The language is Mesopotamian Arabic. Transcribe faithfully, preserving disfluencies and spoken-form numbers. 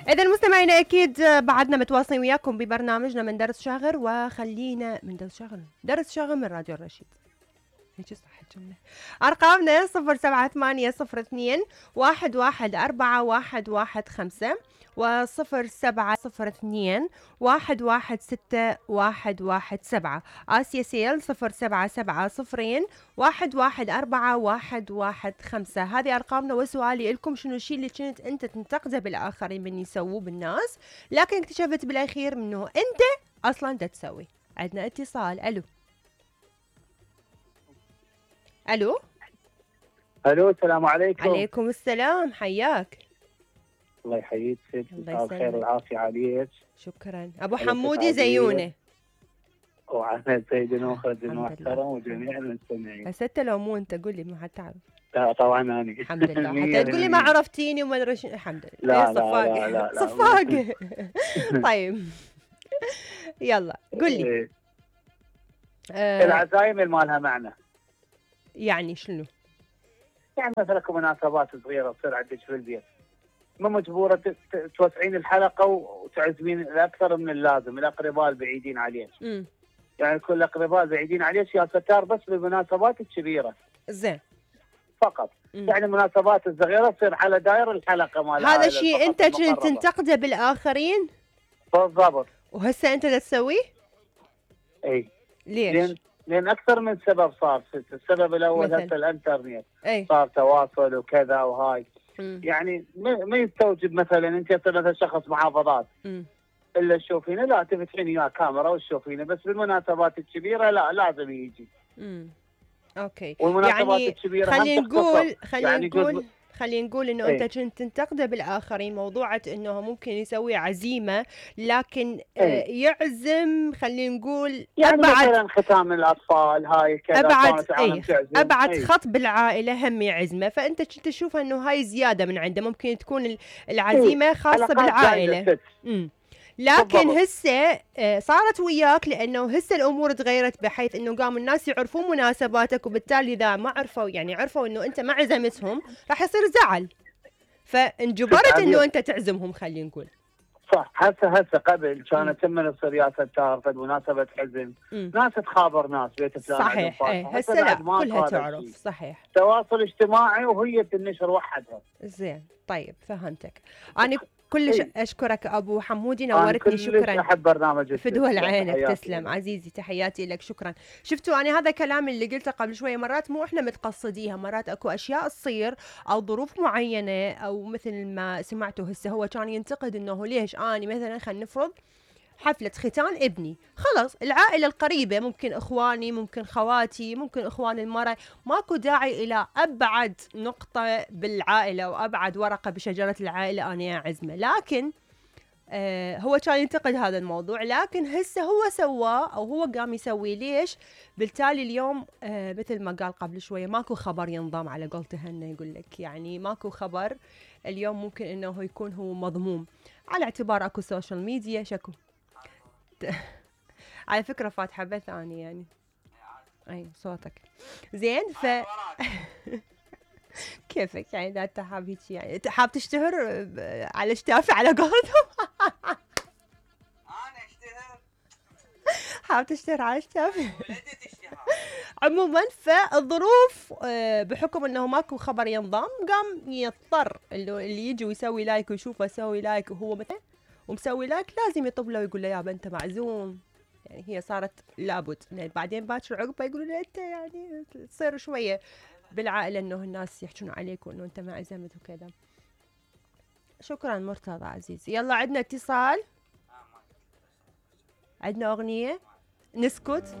إذا المستمعين أكيد بعدنا متواصلين وياكم ببرنامجنا من درس شاغر، وخلينا من درس شاغر درس شاغر من راديو الرشيد. هيك صح الجملة. أرقامنا صفر سبعة ثمانية صفر اثنين واحد واحد أربعة واحد واحد خمسة وصفر سبعة صفر اثنين واحد واحد ستة واحد واحد سبعة. آسيا سيل صفر سبعة سبعة صفرين واحد واحد أربعة واحد واحد خمسة. هذه أرقامنا. وسؤالي لكم، شنو الشيء اللي كنت أنت تنتقده بالآخرين من يسووه بالناس، لكن اكتشفت بالأخير منه أنت أصلا دا تسوي؟ عندنا اتصال. ألو ألو الو السلام عليكم. عليكم السلام، حياك. الله يحييك ست، الله مساء الخير والعافيه عليك. شكرا. ابو حمودي زيونه وعلى سيدنا وخالدنا المحترم وجميع المستمعين. بس انت لو مو انت قول لي ما حتعرف. لا طبعا انا الحمد لله. حتى تقول لي ما عرفتيني وما ادري شنو. الحمد لله. لا لا لا لا, لا صفاق. طيب يلا قول لي. آه العزايم مالها معنى. يعني شنو؟ يعني مثلا مناسبات صغيره تصير عندك في البيت، ما مجبوره توسعين الحلقه وتعزمين الاكثر من اللازم الاقرباء البعيدين عليك. امم يعني كل الاقرباء البعيدين عليك يا ستار بس بالمناسبات الكبيره. زين. فقط. مم. يعني المناسبات الصغيره تصير على داير الحلقه مالها. هذا الشيء انت كنت تنتقده بالاخرين؟ بالضبط. وهسه انت دا تسويه؟ اي. ليش؟ لين لان اكثر من سبب صار. السبب الاول هسه الانترنت. أي. صار تواصل وكذا وهاي. مم. يعني ما يستوجب مثلا انت مثلا شخص محافظات مم. الا تشوفينه لا تفتحين وياه كاميرا وتشوفينه، بس بالمناسبات الكبيره لا لازم يجي. امم اوكي. والمناسبات يعني الكبيره خلينا نقول خلينا يعني نقول خلينا نقول انه ايه؟ انت كنت تنتقده بالاخرين موضوعة انه ممكن يسوي عزيمه، لكن ايه؟ يعزم خلينا نقول يعني ابعد مثلا ختام الاطفال هاي كذا ابعد ايه ابعد ايه؟ خط بالعائله هم يعزمه، فانت كنت تشوفها انه هاي زياده من عنده، ممكن تكون العزيمه ايه؟ خاصه بالعائله. امم لكن هسه صارت وياك لانه هسه الامور تغيرت بحيث انه قام الناس يعرفون مناسباتك، وبالتالي اذا ما عرفوا يعني عرفوا انه انت ما عزمتهم راح يصير زعل، فانجبرت انه انت تعزمهم. خلينا نقول صح. هسه هسه قبل كانت لما تصير يا ستار فد مناسبه حزن ناس تخابر ناس بيت فلان. صحيح. ايه هسه لا كلها تعرف. صحيح. تواصل اجتماعي وهي تنشر وحدها. زين. طيب فهمتك. انا كلش إيه؟ اشكرك ابو حمودي، نورتني. شكرا. احب برنامجك. فدوى عينك. تسلم عزيزي، تحياتي لك. شكرا. شفتوا انا هذا كلام اللي قلته قبل شويه، مرات مو احنا متقصديها، مرات اكو اشياء تصير او ظروف معينه، او مثل ما سمعتوا هسه هو كان ينتقد انه ليش اني مثلا خلينا نفرض حفلة ختان ابني، خلص العائلة القريبة ممكن اخواني ممكن خواتي ممكن اخوان المرأة، ماكو داعي الى ابعد نقطة بالعائلة وابعد ورقة بشجرة العائلة انا اعزمه. لكن آه هو كان ينتقد هذا الموضوع، لكن هسه هو سواه او هو قام يسوي. ليش؟ بالتالي اليوم آه مثل ما قال قبل شوية ماكو خبر ينضم على قولته هنا، يقول لك يعني ماكو خبر اليوم ممكن انه يكون هو مضموم، على اعتبار اكو سوشيال ميديا. شكو على فكرة فاتحة بث أنا يعني أي صوتك زين. ف كيفك يعني إذا أنت حاب هيك يعني حاب تشتهر على اشتافي على قولتهم. أنا أشتهر حاب تشتهر على اشتافي. عموما فالظروف بحكم انه ماكو خبر ينضم قام يضطر اللي يجي ويسوي لايك ويشوفه يسوي لايك وهو مثلا ومسوي لايك لازم يطب له ويقول له يابا انت معزوم. يعني هي صارت لابد، بعدين باكر عقبه يقولوا له انت يعني تصير شويه بالعائله انه الناس يحجون عليك وانه انت ما عزمت وكذا. شكرا مرتضى عزيزي. يلا عندنا اتصال، عندنا اغنيه نسكت.